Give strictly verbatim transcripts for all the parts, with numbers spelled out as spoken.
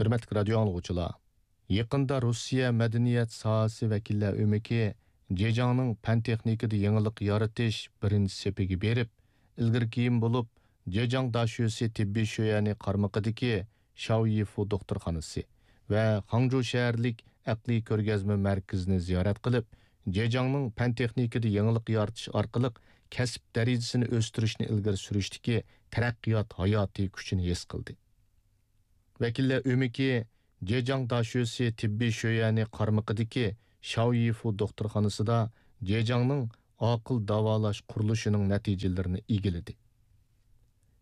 ھۆرمەتلىك رادىيو ئاڭلىغۇچىلار، يېقىندا روسىيە مەدەنىيەت ساھەسى ۋەكىللەر ئۆمىكى جېجياڭنىڭ پەن-تېخنىكىدا يېڭىلىق يارىتىش بىرىنچى سېپىگە بېرىپ، ئىلگىرى كېيىن بولۇپ، جېجياڭ داشۆسى تېببىي شۆيەنى قارمىقىدىكى شاۋيىفۇ دوختۇرخانىسى ۋە خاڭجۇ شەھەرلىك ئەقلىي كۆرگەزمە مەركىزىنى زىيارەت قىلىپ، جېجياڭنىڭ پەن-تېخنىكىدا يېڭىلىق يارىتىش ئارقىلىق كەسىپ دەرىجىسىنى ئۆستۈرۈشنى ئىلگىرى سۈرۈشتىكى تەرەققىيات ھاياتىي كۈچىنى ھېس قىلدى. ۋەكىللەر ئۆمىكى جېجياڭ داشۆسى تېببىي شۆيەنى قارمىقىدىكى شاۋيىفۇ دوختۇرخانىسىدا جېجياڭنىڭ ئاقىل داۋالاش قۇرۇلۇشىنىڭ نەتىجىلىرىنى ئىگىلىدى.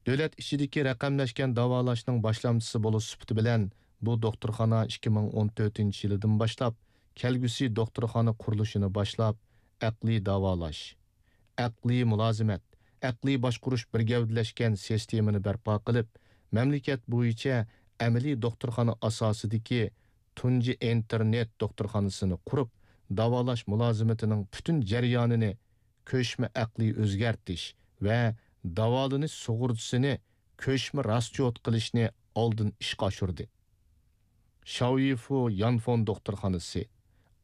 دۆلەت ئىچىدىكى رەقەملەشكەن داۋالاشنىڭ باشلامچىسى بولۇش سۈپىتى بىلەن، بۇ دوختۇرخانا ئىككى مىڭ ئون تۆتىنچى يىلىدىن باشلاپ كەلگۈسى دوختۇرخانا قۇرۇلۇشىنى باشلاپ، ئەقلىي داۋالاش، ئەقلىي مۇلازىمەت، ئەقلىي باشقۇرۇش بىر گەۋدىلەشكەن سىستېمىنى بەرپا قىلىپ، مەملىكەت بويىچە ئەمەلىي دوختۇرخانا ئاساسىدىكى تۇنجى ئىنتېرنېت دوختۇرخانىسىنى قۇرۇپ، داۋالاش مۇلازىمىتىنىڭ پۈتۈن جەريانىنى كۆچمە ئەقلىي ئۆزگەرتىش ۋە داۋالىنىش سۇغۇرتىسىنى كۆچمە راسچوت قىلىشنى ئالدىن ئىشقا ئاشۇردى. شاۋيىفۇ يانفون دوختۇرخانىسى،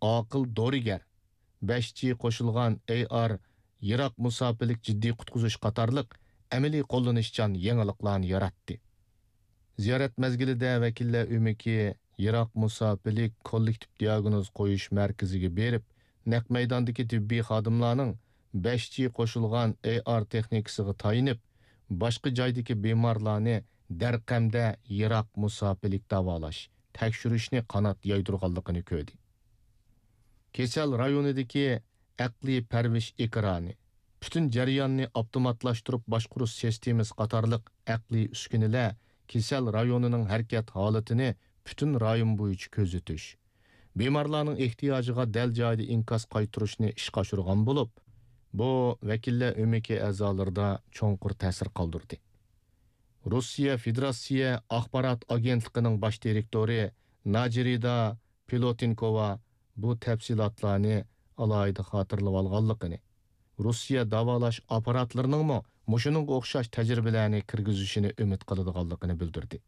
ئاقىل دورىگەر، بەش جى قوشۇلغان ئەي ئار، يىراق مۇساپىلىك جىددىي قۇتقۇزۇش قاتارلىق ئەمەلىي قوللىنىشچان يېڭىلىقلارنى ياراتتى. زىيارەت مەزگىلىدە ۋەكىللەر ئۆمىكى يىراق مۇساپىلىك كوللېكتىپ دىئاگنوز قويۇش مەركىزىگە بېرىپ، نەق مەيداندىكى تېببىي خادىملارنىڭ بەش جى قوشۇلغان ئەي ئار تېخنىكىسىغا تايىنىپ، باشقا جايدىكى بىمارلارنى دەرقەمدە يىراق مۇساپىلىك داۋالاش، تەكشۈرۈشنى قانات يايدۇرغانلىقىنى كۆردى. كېسەل رايونىدىكى ئەقلىي پەرۋىش ئېكرانى، پۈتۈن جەرياننى ئاپتوماتلاشتۇرۇپ باشقۇرۇش سىستېمىسى قاتارلىق ئەقلىي ئۈسكۈنىلەر كېسەل رايونىنىڭ ھەرىكەت ھالىتىنى پۈتۈن رايون بويىچە كۆزىتىش، بىمارلارنىڭ ئېھتىياجىغا دەل جايىدا ئىنكاس قايتۇرۇشنى ئىشقا ئاشۇرغان بولۇپ، بۇ ۋەكىللەر ئۆمىكى ئەزالىرىدا چوڭقۇر تەسىر قالدۇردى. روسىيە فېدېراتسىيە ئاخبارات ئاگېنتلىقىنىڭ باش دىرېكتورى ناجىرىدا پىلوتېنكوۋا بۇ تەپسىلاتلارنى ئالاھىدە خاتىرىلىۋالغانلىقىنى، روسىيە داۋالاش ئاپپاراتلىرىنىڭمۇ مۇشۇنىڭغا ئوخشاش تەجرىبىلەرنى كىرگۈزۈشىنى ئۈمىد قىلىدىغانلىقىنى بىلدۈردى.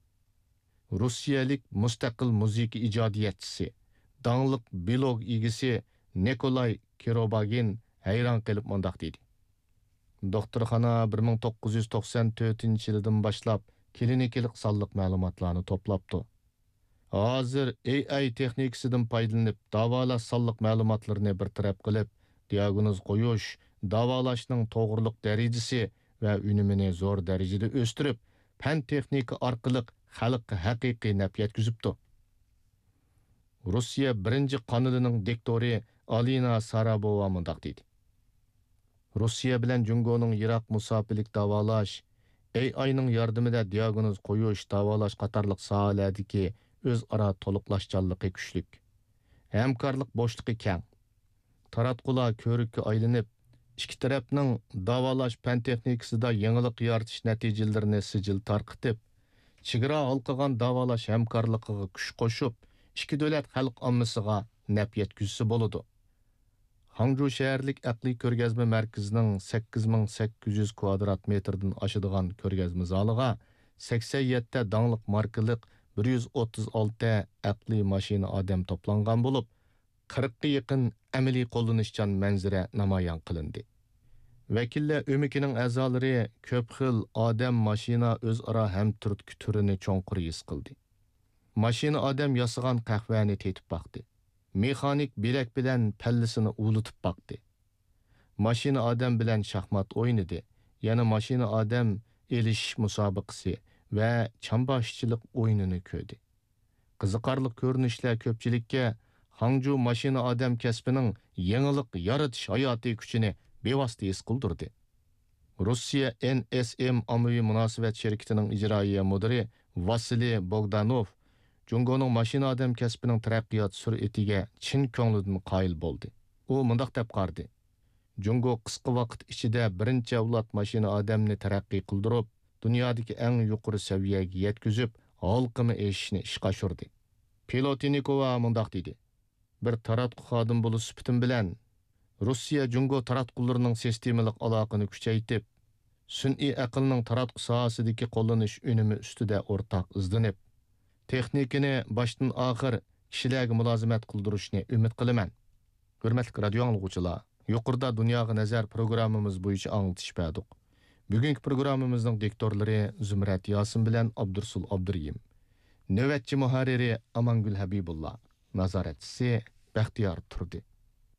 روسىيەلىك مۇستەقىل مۇزىكا ئىجادىيەتچىسى، داڭلىق بىلوگ ئىگىسى نىكولاي كىروباگىن ھەيران قېلىپ مۇنداق دېدى: «دوختۇرخانا بىر مىڭ توققۇز يۈز توقسان تۆتىنچى يىلىدىن باشلاپ كلىنىكىلىق سانلىق مەلۇماتلارنى توپلاپتۇ. ھازىر ئەي ئاي تېخنىكىسىدىن پايدىلىنىپ، داۋالاش سانلىق مەلۇماتلىرىنى بىر تەرەپ قىلىپ، دىئاگنوز قويۇش، داۋالاشنىڭ توغرىلىق دەرىجىسى ۋە ئۈنۈمىنى زور دەرىجىدە ئۆستۈرۈپ، پەن تېخنىكا ئارقىلىق خەلققە ھەقىقىي نەپ يەتكۈزۈپتۇ.» روسىيە بىرىنچى قانىلىنىڭ دىكتورى ئالىنا سارابوۋا مۇنداق دېدى: «روسىيە بىلەن جۇڭگونىڭ يىراق مۇساپىلىك داۋالاش، ئەي ئاينىڭ ياردىمىدە دىئاگنوز قويۇش، داۋالاش قاتارلىق ساھەلەردىكى ئۆزئارا تولۇقلاشچانلىقى كۈچلۈك، ھەمكارلىق بوشلۇقى كەڭ. تاراتقۇلار كۆۋرۈككە ئايلىنىپ، ئىككى تەرەپنىڭ داۋالاش پەن تېخنىكىسىدا يېڭىلىق يارىتىش نەتىجىلىرىنى سىجىل تارقىتىپ، چېگرا ھالقىغان داۋالاش ھەمكارلىقىغا كۈچ قوشۇپ، ئىككى دۆلەت خەلق ئاممىسىغا نەپ يەتكۈزسە بولىدۇ.» خاڭجۇ شەھەرلىك ئەقلىي كۆرگەزمە مەركىزىنىڭ سەككىز مىڭ سەككىز يۈز كۋادرات مېتىردىن ئاشىدىغان كۆرگەزمە زالىغا سەكسەن يەتتە داڭلىق ماركىلىق بىر يۈز ئوتتۇز ئالتە ئەقلىي ماشىنا ئادەم توپلانغان بولۇپ، قىرىققا يېقىن ئەمەلىي قوللىنىشچان مەنزىرە نامايان قىلىندى. ۋەكىللەر ئۆمىكىنىڭ ئەزالىرى كۆپ خىل ئادەم، ماشىنا ئۆزئارا ھەمتۈرتكە تۈرىنى چوڭقۇر ھېس قىلدى. ماشىنا ئادەم ياسىغان قەھۋەنى تېتىپ باقتى. مېخانىك بىلەك بىلەن پەللىسىنى ئۇۋۇلىتىپ باقتى. ماشىنا ئادەم بىلەن شاھمات ئوينىدى. يەنە ماشىنا ئادەم ئېلىشىش مۇسابىقىسى ۋە چامباشچىلىق ئويۇنىنى كۆردى. قىزىقارلىق كۆرۈنۈشلەر كۆپچىلىككە خاڭجۇ ماشىنا ئادەم كەسپىنىڭ يېڭىلىق يارىتىش ھاياتىي كۈچىنى بىۋاسىتە ھېس قىلدۇردى. روسىيە ئېن ئېس ئېم ئاممىۋى مۇناسىۋەت شىركىتىنىڭ ئىجرائىيە مۇدىرى ۋاسىلىي بوگدانوف جۇڭگونىڭ ماشىنا ئادەم كەسپىنىڭ تەرەققىيات سۈرئىتىگە چىن كۆڭلىدىن قايىل بولدى. ئۇ مۇنداق دەپ قارىدى: «جۇڭگو قىسقا ۋاقىت ئىچىدە بىرىنچى ئەۋلاد ماشىنا ئادەمنى تەرەققىي قىلدۇرۇپ، دۇنيادىكى ئەڭ يۇقىرى سەۋىيەگە يەتكۈزۈپ، ھالقىما ئېشىشنى ئىشقا ئاشۇردى.» پىلوتىنىكوۋا مۇنداق دېدى: «بىر تاراتقۇ خادىمى بولۇش سۈپىتىم بىلەن، روسىيە جۇڭگو تاراتقۇلىرىنىڭ سىستېمىلىق ئالاقىنى كۈچەيتىپ، سۈنئىي ئەقىلنىڭ تاراتقۇ ساھەسىدىكى قوللىنىش ئۈنۈمى ئۈستىدە ئورتاق ئىزدىنىپ، تېخنىكىنى باشتىن ئاخىر كىشىلەرگە مۇلازىمەت قىلدۇرۇشنى ئۈمىد قىلىمەن. ھۆرمەتلىك رادىيو ئاڭلىغۇچىلار، يۇقىرىدا دۇنياغا نەزەر پروگراممىمىز بويىچە ئاڭلىتىش بەردۇق. بۈگۈنكى پروگراممىمىزنىڭ دىكتورلىرى زۇمرەت ياسىن بىلەن ئابدۇرسۇل ئابدۇرېھىم. نۆۋەتچى مۇھەررىرى ئامانگۈل ھەبىبۇللا. نازارەتچىسى بەختىيار تۇردى.